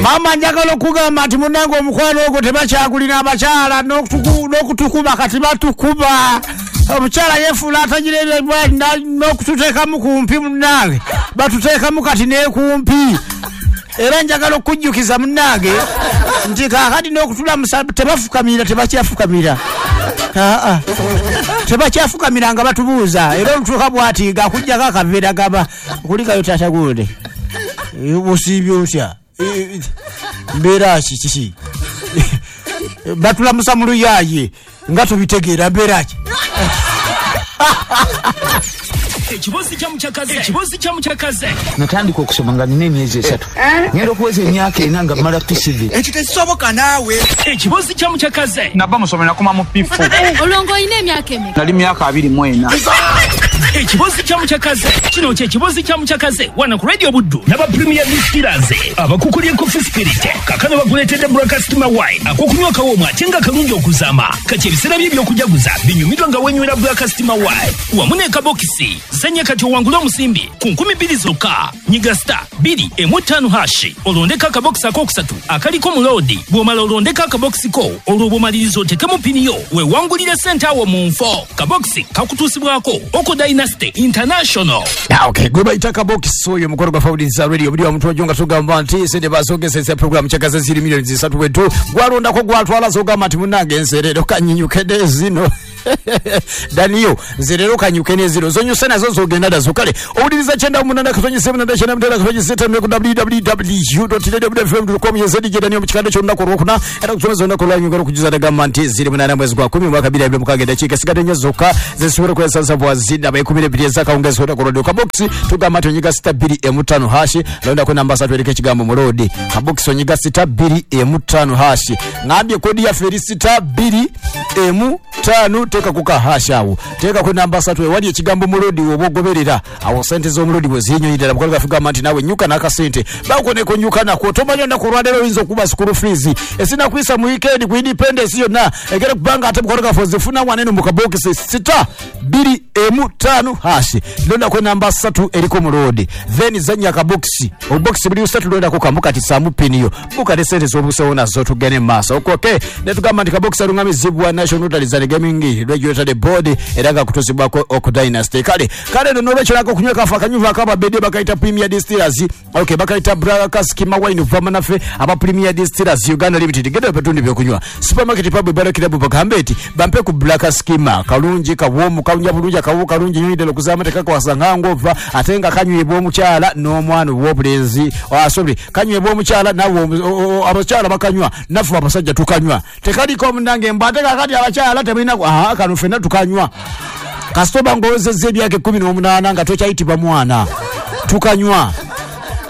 Maama, njagala okugamba nti munnange omukwano ogwo tebakyagulina. Abakyala n'okutukuba kati batukuba. Omukyala yefuula atagira ebyo n'okututeekamu kumpi. Munnange, batuteekamu kati n'ekumpi. Era njagala okujjukiza munnange nti kaakati n'okutulamusa tebafukamira, tebakyafukamira. Aa, tebakyafukamira nga batubuuza. Era olutuuka bwati ng'akugjako akaveera, gaba kulikayo, "Taata gundi, osiibye otya? Mbeera ki? Kiki?" Batulamusa mu luyaaye nga tubitegeera. Mbeera ki? Ekibozi kya Mukyakaze, ekibozi kya Mukyakaze. Natandika okusoma nga nina emyezi 3, ngenda okuweza emyaka 4 nga mmala PCV. Ekyo tekisoboka naawe. Ekibozi kya Mukyakaze. Nava musomero, nakoma mu P4. Olwo ng'olina emyaka emeka? Nali myaka 24. Ekibozi kya Mukyakaze, kino kye kibozi kya Mukyakaze wano ku Radio Buddu n'aba Premier Distillers abakukulya Coffee Spirit. Kakano bakuleetedde Black Steamer Wine, akokunywa kawoomu ate nga kalungi okuzaama. Kati ebiseera bye ebyokujaguza binyumirwa nga wenywera Black Steamer Wine wamu n'ekabokisi. Zanya kati owangule omusimbi ku 2000 zokka. Nyiga *215# olondeko akabokisi akokusatu akaliko muloodi. Bw'omala olondeko akabokisi ko, olwo bw'omaliriza otekemu pini yo, weewangulire sente awo mu nfo. Kabokisi kakutuusibwako Oko Dynasty International. Ah, okay, gwe bayita kabokisi oyo. Omukolo gwa Fawuliza Radio buli omuntu ojo nga tugamba nti sente bazogezesa program kyakaze ziri miliyoni 3 wetu gwalondako gwatwala. Zogamba nti munnange nze leero kanyinyuke zino. Daniyo, nze leero kanyuke nezino zonyuse nazo zogenda nazo. Kale owuliriza 98.8996 ku www.radiofm.com. Yezedi Daniyo mu kikande ky'olunaku olwokuna, era kusomeza olunaku olwanyuga okujuza nagamba nti ziri 8 mwezi gwa 10 mwaka 2026. Eddakiika esigadde 4 zokka zezisobola okwesansa bwazindaba 12 ezakawungezi olunaku olwadde. Kabokisi tugamba nti onyiga *215#, londako namba 3 eriko ekigambo muloodi. Kabokisi onyiga *215#. Ngambye kodi yaffe eri *215, teekako ka hash awo, teekako namba 3 ewali ekigambo muloodi. Woba ogoberera awo sente z'omulodi bwe zinyonyi ddala. Mukola gaffe gamba nti naawe nyuka n'akasente bakoneko, nyuka nako. Tomanya olunaku olwaleero oyinza okuba school fees esinakuyisa mu weekend ku independence yonna egere kubanga ate mukola gaffe ozifuna wanene mu kabokisi *215#, londako namba 3 eriko muloodi, then zanya akabokisi. Obubokisi buli busatu, londako kamu kati saamu piniyo bukate sente z'obusewo nazo tugende mu maaso. Okay, netugamba nti kabokisi alungamizibwa National Lotteries and Gaming Regulatory Board, era nga kutuzibwako Oku Dynasty. Kale kale no nolwekyo nako okunywa kafa akanyuvu akababedde bakayita Premier Distillers. Okay, bakayita Black Skima Wine okuva naffe aba Premier Distillers Uganda Limited. Genda petundi byokunywa supermarket, pub, bar, club, bagambe nti bampe ku Black Skima. Kalungi, kawoomu, kawunya bulungi, akawo kalungi nyo ddala okuzaama, tekakwasa ngangova, ate nga kanywebwa omukyala n'omwana ow'obulenzi. Ah, sorry, kanywebwa omukyala nawe abakyala bakanywa, naffe abasajja tukanywa. Tekaliko munange mbu ate kakati abakyala temulina. Aha, kano ffenna tukanywa. Kasita oba ng'owezezza emyaka 18 nga tokyayitibwa mwana, tukanywa.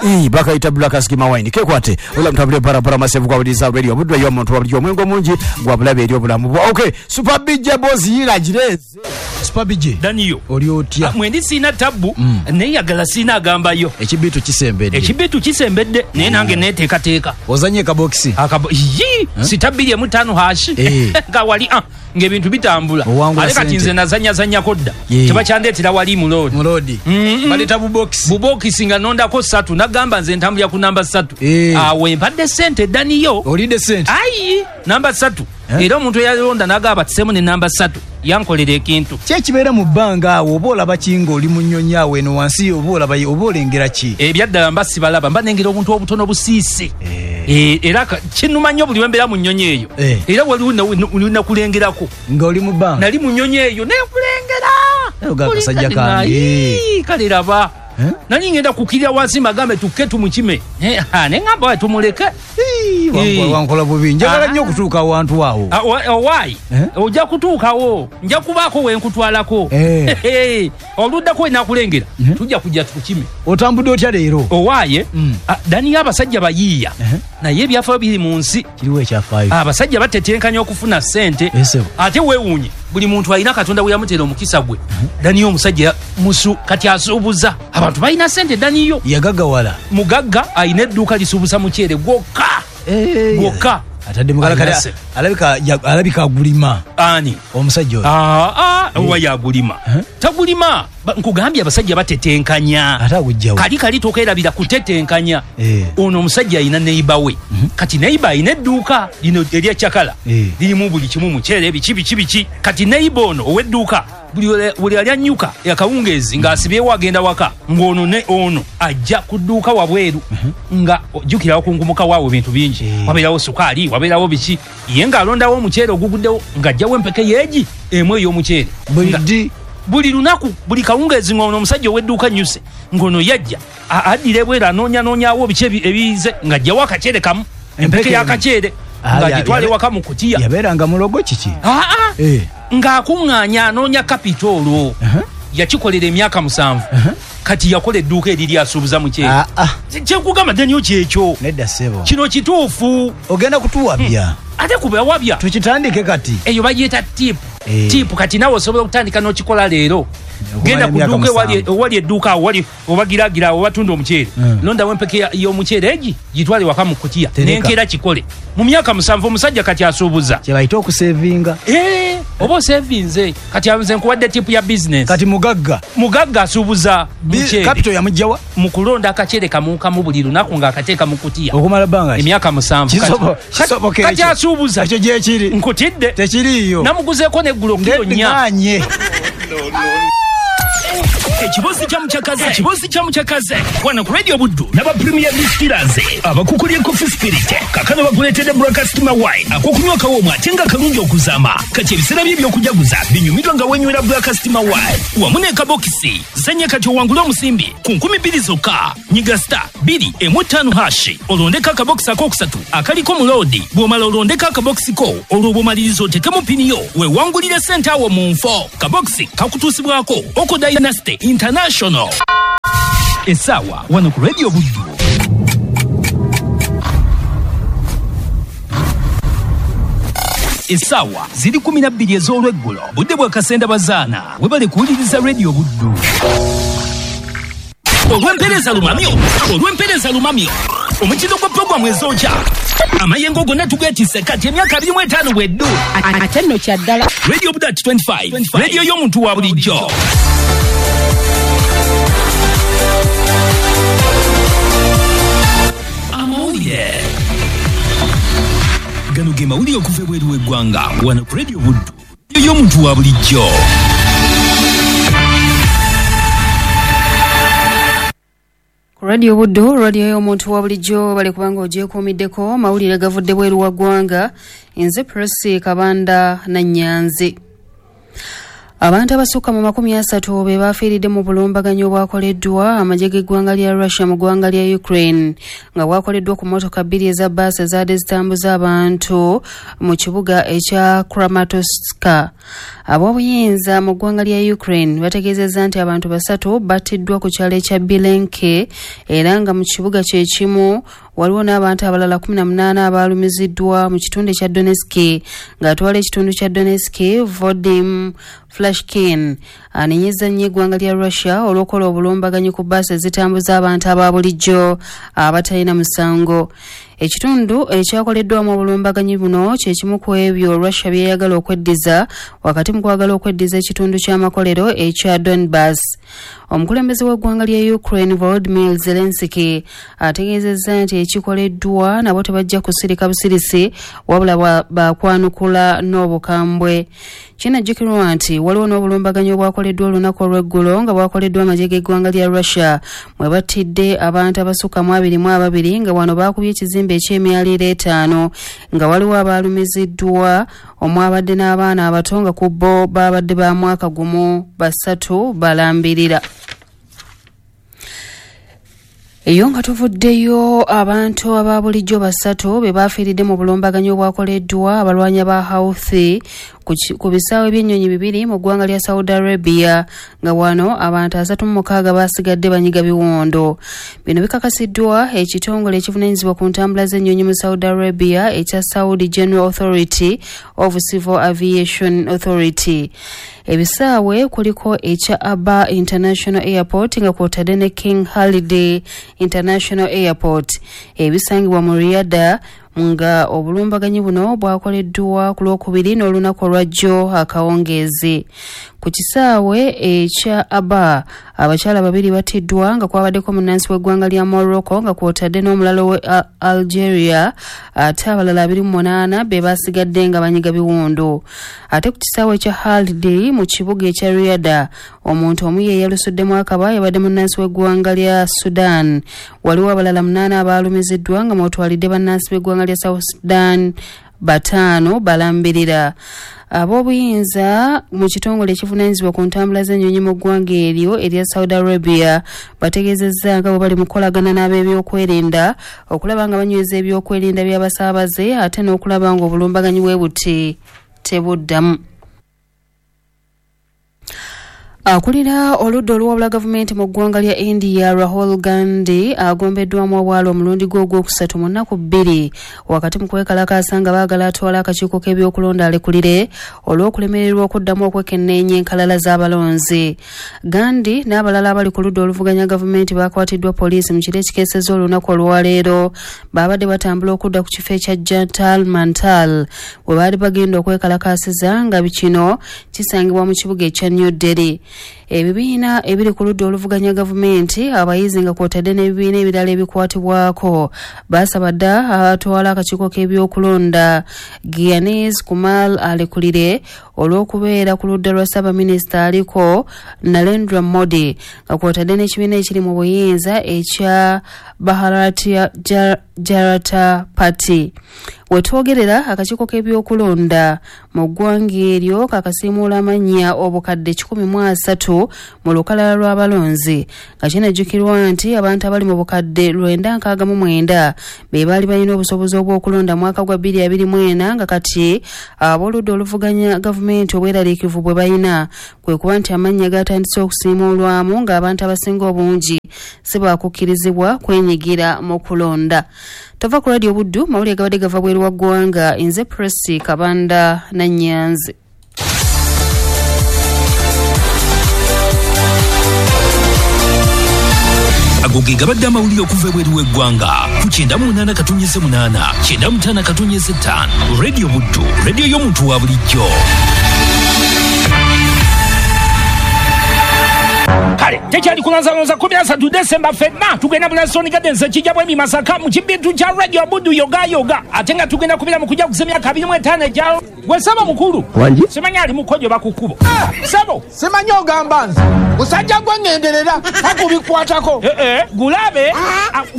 Ii, bakayita Black Skima Wine. Kekwate ola mutambule barabara masevu gwawuliriza radio Budwa y'omuntu wa bulijjo. Omwenge omungi gwa bulabe eri obulamu bwa. Okay, Super BJ Boss yira gireze. Super BJ. Daniyo. Oli otya? Mwendi siina tabbu, naye yagala siina agambayo. Ekibiitu kisembedde. Ekibiitu kisembedde, naye nange neteekateeka. Ozanye kabokisi? Akabo yi *215# nga wali ng'ebintu bitambula. Owangula Ate kati sente. nze nazanyazanyako dda, tebakyandeetera wali muloodi. Muloodi baleeta bubokisi. Bubokisi nga nondako ssatu, nagamba nze ntambulira ku namba 3. Awo empadde sente, Daniyo. Olidde sente. Ayi, namba 3. Eh? Era omuntu eyalonda nagamba tiseemu ne namba 3 yankolera ekintu. Ki ekibeera mu bbanga awo? Oba olaba ki ng'oli mu nnyonyi awo eno wansi? Oba olaba, oba olengera ki? Ebyaddala mba sibalaba, mba nengera obuntu obutono busiise. Era kinnuma nnyo buli lwembeera mu nnyonyi eyo. Era waliwo nakulengerako Nga oli mu bbanga. Nali mu nnyonyi eyo nenkulengera. Oga akasajja kange. Ayi, kale raba. Eh? Nali ngenda kukirira wansi magambe tukke tumukime. Ne ŋŋamba wae tumuleke. Ii, wankola bubi, njagala nnyo okutuuka awantu awo. Ah, owaayi. Eh? Ojja kutuukawo, nja kubaako wenkutwalako. Oluddako wenakulengera tujja kujja tukime. Otambudde otya leero? Owaaye. Daniyo, abasajja bayiiya, naye ebyafaayo biri mu nsi. Kiriwo ekyafaayo. Abasajja batetenkanya okufuna ssente. Ssebo. Ate weewuunye, buli muntu alina Katonda we yamuteera omukisa gwe. Daniyo omusajja musu kati asuubuza, abantu balina ssente, Daniyo. Yagaggawala. Mugagga, alina edduuka lisuubuza muceere gwokka gwokka. Atadde mugala kale. Alina Alabika alabika agulima. Ani? Omusajja oyo. Aa, owa yagulima? Tagulima. Nkugambye abasajja batetenkanya. Ate agujjawo? Kali kali tokerabira kutetenkanya. Ono omusajja alina neighbor we. Kati neighbor alina edduuka lino erya cakala. Lirimu buli kimu, muceere, biki biki biki. Kati neighbor ono ow'edduuka buli ali annyuka akawungeezi ng'asibyewo agenda waka, ng'ono ne ono ajja ku dduuka wabweru, nga jjukira wakunkumuka waawo ebintu bingi, wabeerawo sukaali, wabeerawo biki, ye ng'alondawo omuceere oguguddewo, ng'ajjawo empeke yeegi emu ey'omuceere. Buli ddi? Buli lunaku, buli kawungeezi ng'ono omusajja ow'edduuka nnyuse, ng'ono yajja addira ebweru anoonyanoonyawo biki ebiyize, ng'ajjawo akaceere kamu, empeke y'akaceere, ng'agitwala ewaka mu kutiya. Yabeeranga mulogo kiki? Aa, ng'akuŋŋaanya anoonya kapito olwo. Yakikolera emyaka 7. Kati yakola edduuka eriri asuubuza muceere. Kyenkugamba Daniel kyekyo. Nedda ssebo. Kino kituufu. Ogenda kutuwabya. Ate kubawabya. Tukitandike kati. Eyo bagiyita tip. Tip kati naawe osobola okutandika n'okikola leero. Genda ku dduuka ewali edduuka awo wali obagiragira awo batunda omuceere. Londawo empeke y'omuceere egi gitwale waka mu kutiya. N'enkeera kikole. Mu myaka 7 omusajja kati asuubuza. Kye bayita okusevinga. Oba osevinze. Kati nze nkuwadde tipu ya bizinesi. Kati mugagga. Mugagga asuubuza muceere. Kapito yamugyawa? Mu kulonda akaceere kamu kamu buli lunaku ng'akateeka mu kutiya. Okumala bbanga ki? Emyaka 7. Kisoboka ekyo. Kati asuubuza. Ekyo gyekiri. Nkutidde. Tekiriiyo. Namuguzeeko n'eggulo kilo 4. Ndedde. Ekibozi kya mukyakaze. Ekibozi kya mukyakaze. Wano ku Radio Buddu n'aba Premier Distillers abakukulye Coffee Spirit kakano bakuleetedde Breakfast Wine akokunywa kawoomu ate nga kalungi okuzaama. Kati ebiseera bye eby'okujaguza binyumirwa nga wenywera Breakfast Wine wamu n'ekabokisi. Zanya kati owangule omusimbi ku 2000 zokka. Nyiga star 215# olondeko akabokisi akokusatu akaliko mu loodi. Bw'omala olondeko akabokisi ko olwo bw'omaliriza otekemu pini yo weewangulire ssente awo mu nfo. Kabokisi kakutuusibwako Oko Dynasty International. Essaawa wano ku Radio Buddu. Essaawa ziri 12 ez'olweggulo. Budde bwa Kasenda Bazaana. Webale kuwuliriza Radio Buddu. Olw'empeereza lumamyo. Olw'empeereza lumamyo. Omutindo gwa pulogulaamu ezokya. Amayengo gonna tugeetisse kati emyaka 25 bweddu. Ate nno kya ddala. Radio Buddu at 25. Radio y'omuntu wa bulijjo. Amawulire. Gano ge mawulire okuva ebweru w'eggwanga wano ku Radio Buddu y'omuntu wa bulijjo. Ku Radio Buddu, radio y'omuntu wa bulijjo, bale kubanga ogyekuumiddeko mawulire gavudde bweru wa ggwanga. Nze Prossy Kabanda Nannyanzi. Abantu abasukka mu 30 be bafiiridde mu bulumbaganyi obwakoleddwa amagye g'eggwanga lya Russia mu ggwanga lya Ukraine, nga bwakoleddwa ku mmotoka 2 eza bbaasi ezaadde zitambuza abantu mu kibuga ekya Kramatorsk. Ab'obuyinza mu ggwanga lya Ukraine bategeezezza nti abantu 3 battiddwa ku kyalo ekya Bilenke, era nga mu kibuga kye kimu waliwo n'abantu abalala 18 abaalumiziddwa mu kitundu ekya Donetsk. Ng'atwala ekitundu kya Donetsk, Volodymyr Flashkin anenyezza nnyo eggwanga lya Russia olw'okukola obulumbaganyi ku bbaasi ezitambuza abantu aba bulijjo abatalina musango. Ekitundu ekyakoleddwamu obulumbaganyi buno kye kimu ku ebyo Russia byeyagala okweddiza wakati mu kwagala okweddiza ekitundu ky'amakolero ekya Donbass. Omukulembeze w'eggwanga lya Ukraine Volodymyr Zelensky ategeezezza nti ekikoleddwa nabo tebajja kusirika busirisi wabula bakwanukula n'obukambwe. Kinajjukirwa nti waliwo n'obulumbaganyi obwakoleddwa olunaku olw'eggulo nga bwakoleddwa amagye g'eggwanga lya Russia mwe battidde abantu abasukka mu 22 nga wano baakubye ekizimbe eky'emyaliiro 5 nga waliwo abaalumiziddwa omwabadde n'abaana abato nga ku bo babadde ba mwaka gumu 3 balambirira. Eyo nga tuvuddeyo, abantu aba bulijjo 3 be bafiiridde mu bulumbaganyi obwakoleddwa abalwanyi ba Houthi ku bisaawe by'ennyonyi 2 mu ggwanga lya Saudi Arabia, nga wano abantu 36 basigadde banyiga biwondo. Bino bikakasiddwa ekitongole ekivunaanyizibwa ku ntambula z'ennyonyi mu Saudi Arabia ekya Saudi General Authority of Civil Aviation Authority. Ebisaawe kuliko ekya Aba International Airport nga kwotadde ne King Khalid International Airport ebisangibwa mu Riyadh Nga obulumbaganyi buno bwakoleddwa ku Lwokubiri n'olunaku olwajjo akawungeezi. Ku kisaawe ekya Aba, abakyala babiri battiddwa nga kwabaddeko munnansi w'eggwanga lya Morocco nga kwotadde n'omulala we Algeria, ate abalala 28 be basigadde nga banyiga biwundu. Ate ku kisaawe ekya Haldi mu kibuga ekya Riyadh, omuntu omu ye yalusuddemu akaba yabadde munnansi w'eggwanga lya Sudan. Waliwo abalala 8 abaalumiziddwa nga mwotwalidde bannansi b'eggwanga lya South Sudan 5 balambirira. Ab'obuyinza mu kitongole ekivunaanyizibwa ku ntambula z'ennyonyi mu ggwanga eryo erya Saudi Arabia bategeezezza nga bwe bali mu kukolagana n'ab'ebyokwerinda okulaba nga banyweza ebyokwerinda by'abasaabaze ate n'okulaba ng'obulumbaganyi bwe buti tebuddamu. Akulira oludda oluwabula gavumenti mu ggwanga lya India Rahul Gandhi agombeddwamu obwala omulundi gwe ogwokusatu mu nnaku 2 wakati mu kwekalakaasa nga baagala atwala akakiiko k'ebyokulonda alekulire olw'okulemererwa okuddamu okwekenneenya enkalala z'abalonzi. Gandhi n'abalala abali ku ludda oluvuganya gavumenti bakwatiddwa poliisi mu kiro ekikeesezza olunaku olwaleero. Baabadde batambula okudda ku kifo ekya Jantar Mantar we baali bagenda okwekalakaasiza nga kino kisangibwa mu kibuga ekya New Delhi. Ebibiina ebiri ku ludda oluvuganya gavumenti, abayizi nga kwotadde n'ebibiina ebirala ebikwatibwako basaba dda atwala akakiiko k'ebyokulonda Gyanesh Kumar alekulire olw'okubeera ku ludda lwa ssaabaminisita aliko Narendra Modi nga kwotadde n'ekibiina ekiri mu buyinza ekya Bharatiya Janata Party. Wetwogerera akakiiko k'ebyokulonda mu ggwanga eryo kakasiimuula amannya obukadde 130 mu lukalala lw'abalonzi nga kinajjukirwa nti abantu abali mu bukadde 969 be baali balina obusobozi obw'okulonda mwaka gwa 2024 nga kati ab'oludda oluvuganya gavumenti obweraliikirivu bwe balina kwe kuba nti amannya gatandise okusiimuulwamu ng'abantu abasinga obungi si baakukkirizibwa kwenyigira mu kulonda. Tova ku Radio Buddu, mawulire gabadde gava bweru wa ggwanga. Nze Presi Kabanda Nannyanzi. Ago ge gabadde amawulire okuva ebweru w'eggwanga ku 98.8 95.5 Radio Buddu, radio y'omuntu wa bulijjo. Kale tekyali kulanzalonza 13 Desemba ffenna tugenda mu Lansoni Gardens ekijja bwemi Masaka mu kibintu kya Radio Buddu yoga yoga, ate nga tugenda kubira mu kujja kuza emyaka 25 egya gwe saba mukulu simanyi ali mukojo bakukubo sabo simanyi ogamba nze musajja gwe ngenderera akubikwatako gulabe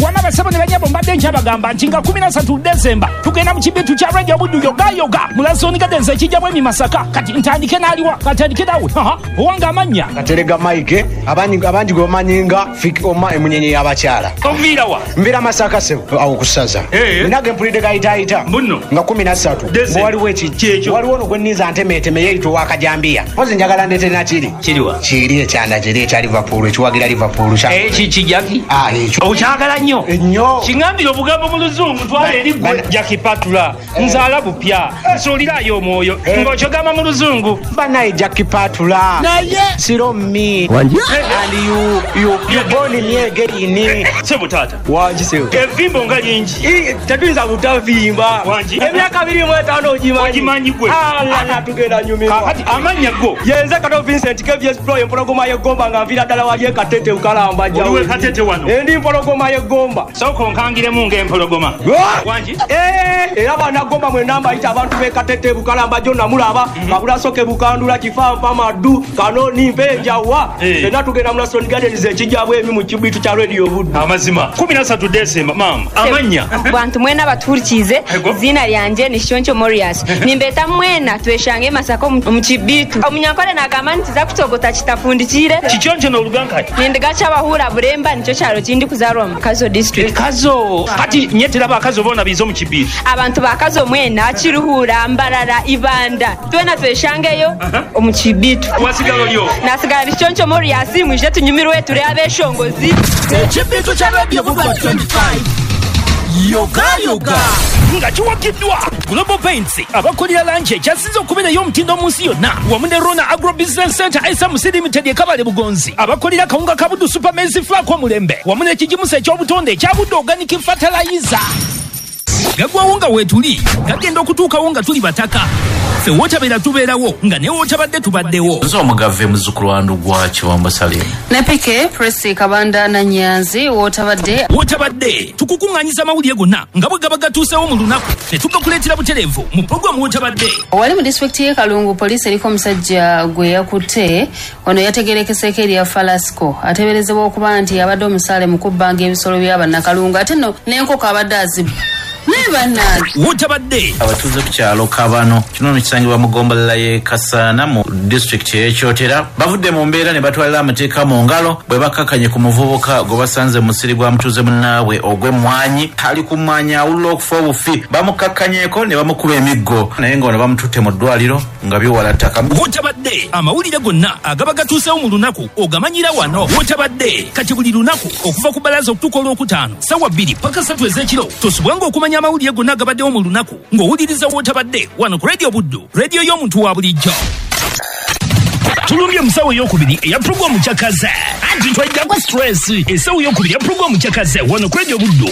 wama basabo ne banyabo mbadde nkyabagamba nti nga 13 Desemba tugenda mu kibintu kya Radio Buddu yoga yoga mu Lansoni Gardens ekijja bwemi Masaka. Kati ntandike n'aliwa katandike nawe owanga amannya Katerega Mike abangi gwe bamanyi nga Fik Oma emunyenye y'abakyala. Onviira wa? Nviira Masaka sebo awo kusaza. Nage mpulidde gayitaayita nga 13 waliwo ekiki waliwo ono gwe nninza ntemeeteme yeeyita owakajambiya. Mpozi njagala ndeete nakiri. Kiriwa? Kiri ekyanda kiri ekya Liverpool ekiwagira Liverpool. Ekiki Jackie? Ekyo. Okyagala nnyo? Nnyo. Kiŋŋambire obugambo mu Luzungu twala eri ggwe Jackie Patula. Nzaala bupya. Nsuulirayo omwoyo ng'okyogamba mu Luzungu. Bannaye Jackie Patula. Naye. Siro me. And you born me again. Sebo tata. Wangi sebo. Evimbo nga lingi. Tetuyinza butavimba. Wangi. Emyaka 25 ogimanyi. Ogimanyi gwe. Ala tugenda nyumirwa. Kakati amannya go. Yenze Kato Vincent KVS Pro empologoma y'eggomba nga nviira ddala wali e Katete Bukalamba jjawo. Oliwe Katete wano. Ndi mpologoma y'eggomba. Sooka onkangiremu ng'empologoma. Wangi. Era bannagomba mwenna mbayita abantu b'e Katete Bukalamba jjo namulaba. Kabulasoke Bukandula Kifampa Maddu Kanoni Mpenjawa. Fenna tugenda mu Lansoni Gardens ekijja bwemi mu kibitu kya Radio Buddu. Amazima 13 Desemba mama amannya bantu mwena baturikize zina lyanje ni Shoncho Morias nimbeta mwena tweshange Masaka mu kibitu omunyankole nagamba nti za kutogota kitafundikire kichoncho n'oluganka nindigacha abahura Buremba nicyo kyalo kindi kuzarwa mu Kazo district Kazo kati nyetera bakazo bona bizo mu kibitu abantu bakazo mwena Kiruhura Mbarara Ibanda twena tweshangeyo omu kibitu wasigalo lyo nasigala Shoncho Morias mwije tunyumirwe turi abeshongozi ekibitu kya Radio Buddu 25 yoga yoga nga kiwagiddwa Global Paints abakolera langi ekyasinze okubeerayo omutindo mu nsi yonna wamu ne Rona Agro Business Center SMC Limited e Kabale Bugonzi abakolera kawunga ka Buddu Super Maize Flour omulembe wamu n'ekigimusa eky'obutonde ekya Buddu Organic Fertilizer. Gagwawo nga weetuli, gagenda okutuukawo nga tuli bataka. Ffe wootabeera tubeerawo, nga ne wootabadde tubaddewo. Nze omugave muzzukulu wa Ndugwa Kiwambo Salim. Ne Pike Presi Kabanda na Nyanzi wootabadde. Wootabadde tukukuŋŋaanyiza amawulire gonna nga bwe gaba gatuusewo mu lunaku ne tugakuleetera butereevu mu pulogulaamu Wootabadde. Wali mu disitulikiti y'e Kalungu, poliisi eriko omusajja gwe yakutte. Ono yategeerekeseeko erya Falasco, ateeberezebwa okuba nti abadde omusaale mu kubbanga ebisolo by'abannakalungu, ate nno n'enkoko abadde azibba. Naye bannange. Wootabadde. Abatuuze ku kyalo Kabano, kino nno kisangibwa mu ggombolola y'e Kasaana mu disitulikiti y'e Kyotera, bavudde mu mbeera ne batwalira amateeka mu ngalo bwe bakkakkanye ku muvubuka gwe basanze mu musiri gwa mutuuze munnaabwe ogw'emmwanyi. Ali ku mmwanyi awulira okufa obufi, bamukkakkanyeko ne bamukuba emiggo, naye ng'ono bamututte mu ddwaliro nga biwala ttaka. Wootabadde amawulire gonna agaba gatuusewo mu lunaku ogamanyira wano. Wootabadde kati buli lunaku okuva ku bbalaza okutuuka olwokutaano ssaawa 2 paka 3 ez'ekiro, tosubwanga okumanya amawulire gonna agabaddewo mu lunaku ng'owuliriza Wootabadde wano ku Radio Buddu, radio y'omuntu wa bulijjo. Tulumbye musawo eyokubiri eya pulogulaamu Kyakaze, anti twajjako stress. Essaawa eyokubiri ya pulogulaamu Kyakaze wano ku Radio Buddu.